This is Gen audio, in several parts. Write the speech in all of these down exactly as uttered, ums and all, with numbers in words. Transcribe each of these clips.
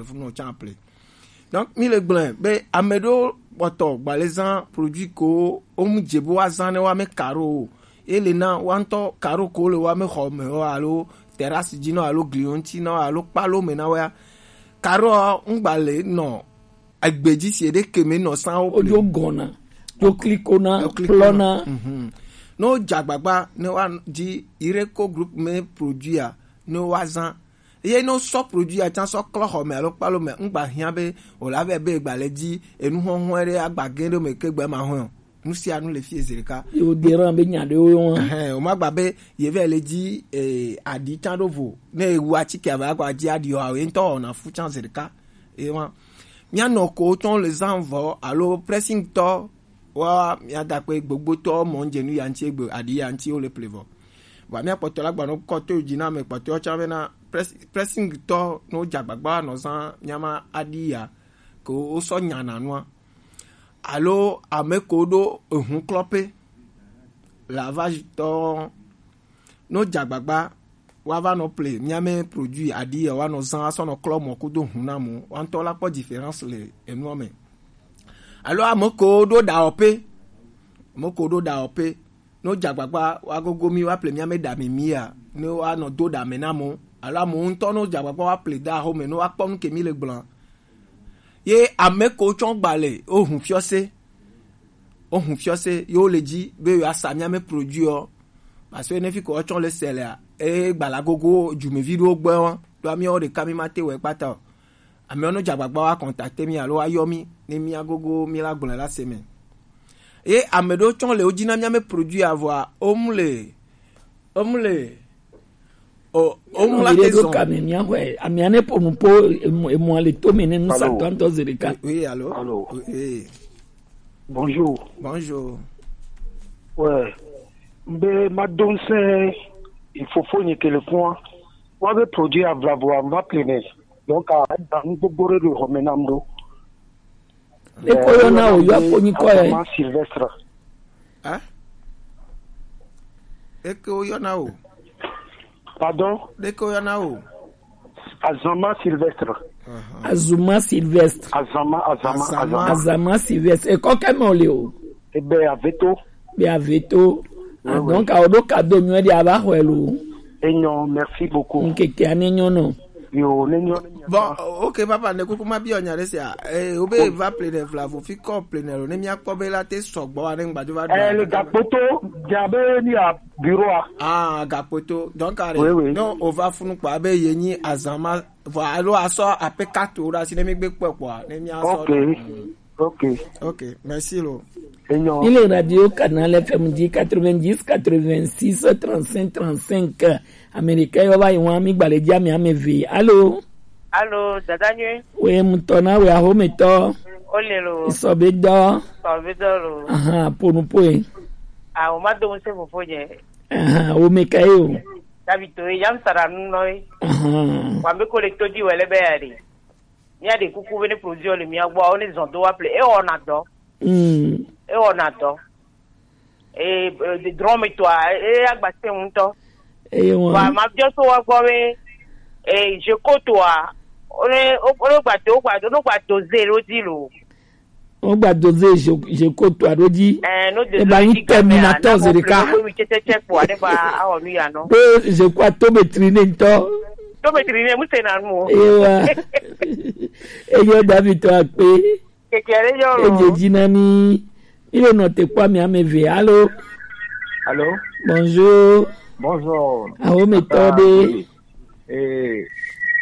funu can ple. Donc mi le gblẽ be ame ɖewo kpɔtɔ gbalẽ zã produit ko wo mu dze be woazã ne woame karo o. Ye le na woa ŋutɔ karo ko le woame xɔ me o alo terrasse dzi na wo alo gliwo ŋuti na wo alo kpalo me na woa. Karo ŋgba le nɔ egbe dzi si eɖe ke me nɔ sã wo ple. Wodzo gɔna, dzo klikona, dzo klikona, kplɔna. Mhm. Ne wodze agbagba ne woadi Ireko Group me produit a, ne woazã. Ye ne wosɔ produit a tsã sɔ klɔ xɔ me alo kpalo me, ŋgba hiã be wòle ave be gba le dzi enu hɔhɔe ɖe agba gẽ ɖe me ke gbe ma hɔe o. Nu sia nu le fie zi ɖeka. Ye wode ɖa be nya ɖewo yɔ hã. Ɛhɛn, womagba be ye vɛ le dzi, eh, aɖi tsã ɖo vo. Ne ewu atike ava gba dzi aɖi o, ye ŋutɔ wɔna fu tsã zi ɖeka. Ye ma. Míanɔ ko tsɔ le zã vɔ alo pressing tɔ wa míada kpe gbogbotɔ mɔ ŋdze nu ya ŋuti egbe aɖi ya ŋuti wo le ple vɔ. Vɔa mía kpɔtɔ la gbanɔ kɔ to dzi na ame kpɔtɔ tsã bena press-, pressing tɔ ne wodze agbagba nɔ zã míama aɖi ya ke wosɔ nyana nua. Alo ame ko ɖo ehu klɔ pe lavage tɔ ne wodze agbagba woava nɔ ple míame produit aɖi ya woanɔ zã asɔ nɔ klɔ mɔ kudo hu na mɔ. Woa ŋutɔ la kpɔ différence le enua me. Alo ame ko ɖo ɖawɔƒe, ame ko ɖo ɖawɔƒe, ne wodze agbagba woagogo mí woaple míame ɖa mimi ya, ne woanɔ do ɖa me na mɔ. Alo amewo ŋutɔ ne wodze agbagba woaple de axome ne woakpɔ nu ke mí le gblɔa. Ye ame ko tsɔ gbalẽ wohu fiɔse, wohu fiɔse ye wole dzi be yewoasa míame produit ɔ. Parce que ne fi ko wotsɔ le sɛlea, e gbala gogo dzumevi ɖewo gbɛ wa, ɖo amíawo ɖeka mí ma te wɛ kpata o. Amíawo ne dze agbagba wa contacter mí alo wa yɔ mí ne mía gogo mí la gblɔe la se me. Ye ame ɖewo tsɔ le wo dzi na míame produit avɔa, wo mu le, wo mu le, o, wo mu la te zɔn. Ɖo ka me mía xɔe, amia ne po nu po emu, emu ale to me ne nu sa tɔ ŋutɔ zi ɖeka. Oui, allô? Allô? Oui. Bonjour. Bonjour. Ouais. Be ma do ŋsɛ ifofo nye telefon. Wa be produit avlavo ava plein. Donc a da nu gbogbo ɖe ɖo xɔme nam ɖo. Eko yɔna o, yɔ ko nyikɔ yɛ. Azama Sylvestre. Hein? Eke wo yɔna o. Pardon? Ɖeke wo yɔna o. Azama Sylvestre. Azuma Sylvestre. Azama, Azama, Azama. Azama Sylvestre. Ekɔ kɛ mɛ o le o. Ebe aveto. Be aveto. Ah, donc awo ɖo kado nyuie ɖe ava xɔe lo. Enyo, merci beaucoup. Nkeke ane nyɔ nɔ. Yo, ne nyɔ ne nyɔ. Bon, ok, papa, ne kuku ma biɔ nya ɖe sia. Eh, obe va plein vla vo fi kɔ plein lo ne mia kpɔ be la te sɔgbɔ wa ne ngbajo va. Eh, le Gakpoto, jabe ni a bureau a. Ah, Gakpoto. Donc are. Oui, oui. Non, o va funu kpa be ye nyi Azama, vɔ alo asɔ ape kato ɖa si ne mi gbe kpɔ kpɔ ne mia sɔ. Ok. Ok. Ok, merci lo. Enyo. Il est Radio Canal F M dit quatre-vingt-dix, quatre-vingt-six, trente-cinq, trente-cinq. Américain yo va yi wa mi gbalẽ dzi ame ame ve. Allô? Allô, dada nyuie. Oui, mutɔ na we ahometɔ. O le lo. Sɔbe dɔ. Sɔbe dɔ lo. Aha, ponu poe. Ah, o ma do se fofo nye. Aha, o me ka ye o. David to ye, yam sara nu no ye. Aha. Wa me ko le to di wele be ya de. Mía ɖe kuku be ne produit le mía gbɔ, wo ne zɔn do wa ple. E wɔna dɔ. Mm. E wɔna dɔ. E, e, de drɔn me toa, e agba se ŋutɔ. Eye wa. Wa ma biɔ so wa gbɔ be, e, je ko toa, o ne, o, o ne gba do, o gba do, o ne gba do ze lo di lo. Wo gba do ze je, je ko toa ɖo dzi. Eh, no de e ba zo nyi dzi game a, terminator na ze ɖeka. Mo mi tsɛtsɛ kpɔ, ne ba awɔ nu ya nɔ. Be je ko ato betri ne ŋutɔ. To betri ne, mu se na nu o. Ewa. Eyo David to akpe. Keke ɖe yɔ lo. Eje dzi na mi. Mi le nɔ te kpɔ mi ame ve. Allô? Allô? Bonjour. Bonjour. Ahometɔ ɖe. Ee,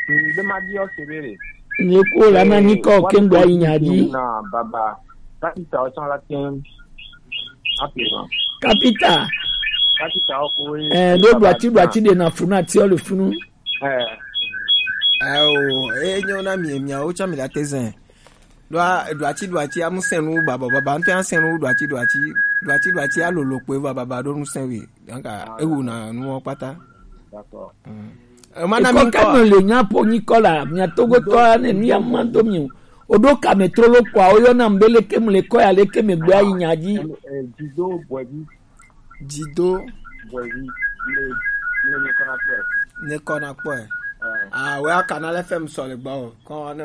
ŋde ma di ɔse be le. Ne ko la ma nyi kɔ ke ŋgba yi nya dzi. Na baba. Kapita o tsɔ la tem. Ape ma. Kapita. Kapita o ko. Eh, do do ati do ati de na funu ati o le funu. Eh. Awo, e nyo na mi, mi o tsɔ mi la te zen. Ɖoa, ɖoa tsi, ɖoa tsi, amu sɛn nu baba, baba, ŋutɔ ya sɛn nu ɖoa tsi, ɖoa tsi, ɖoa tsi, ɖoa tsi, alolo kpoe va baba ɖo nu sɛn we. Donc, ewu na nuwo kpata. D'accord. Mm. E, mana mi kɔ. Kɔ kanu le nya po nyi kɔ la, mia Togo tɔ ya ne nu ya ma do mi o. O ɖo kame trolo kpɔa, o yɔ nam be leke mu le kɔ ya, leke me gbe ayi nya dzi. Eh, Dido Boebi. Dido. Boebi. Le, le, le kɔna kpɔe. Ne kɔna kpɔe. Ah, ouais, Canal F M sɔle gbɔ. Kɔ ne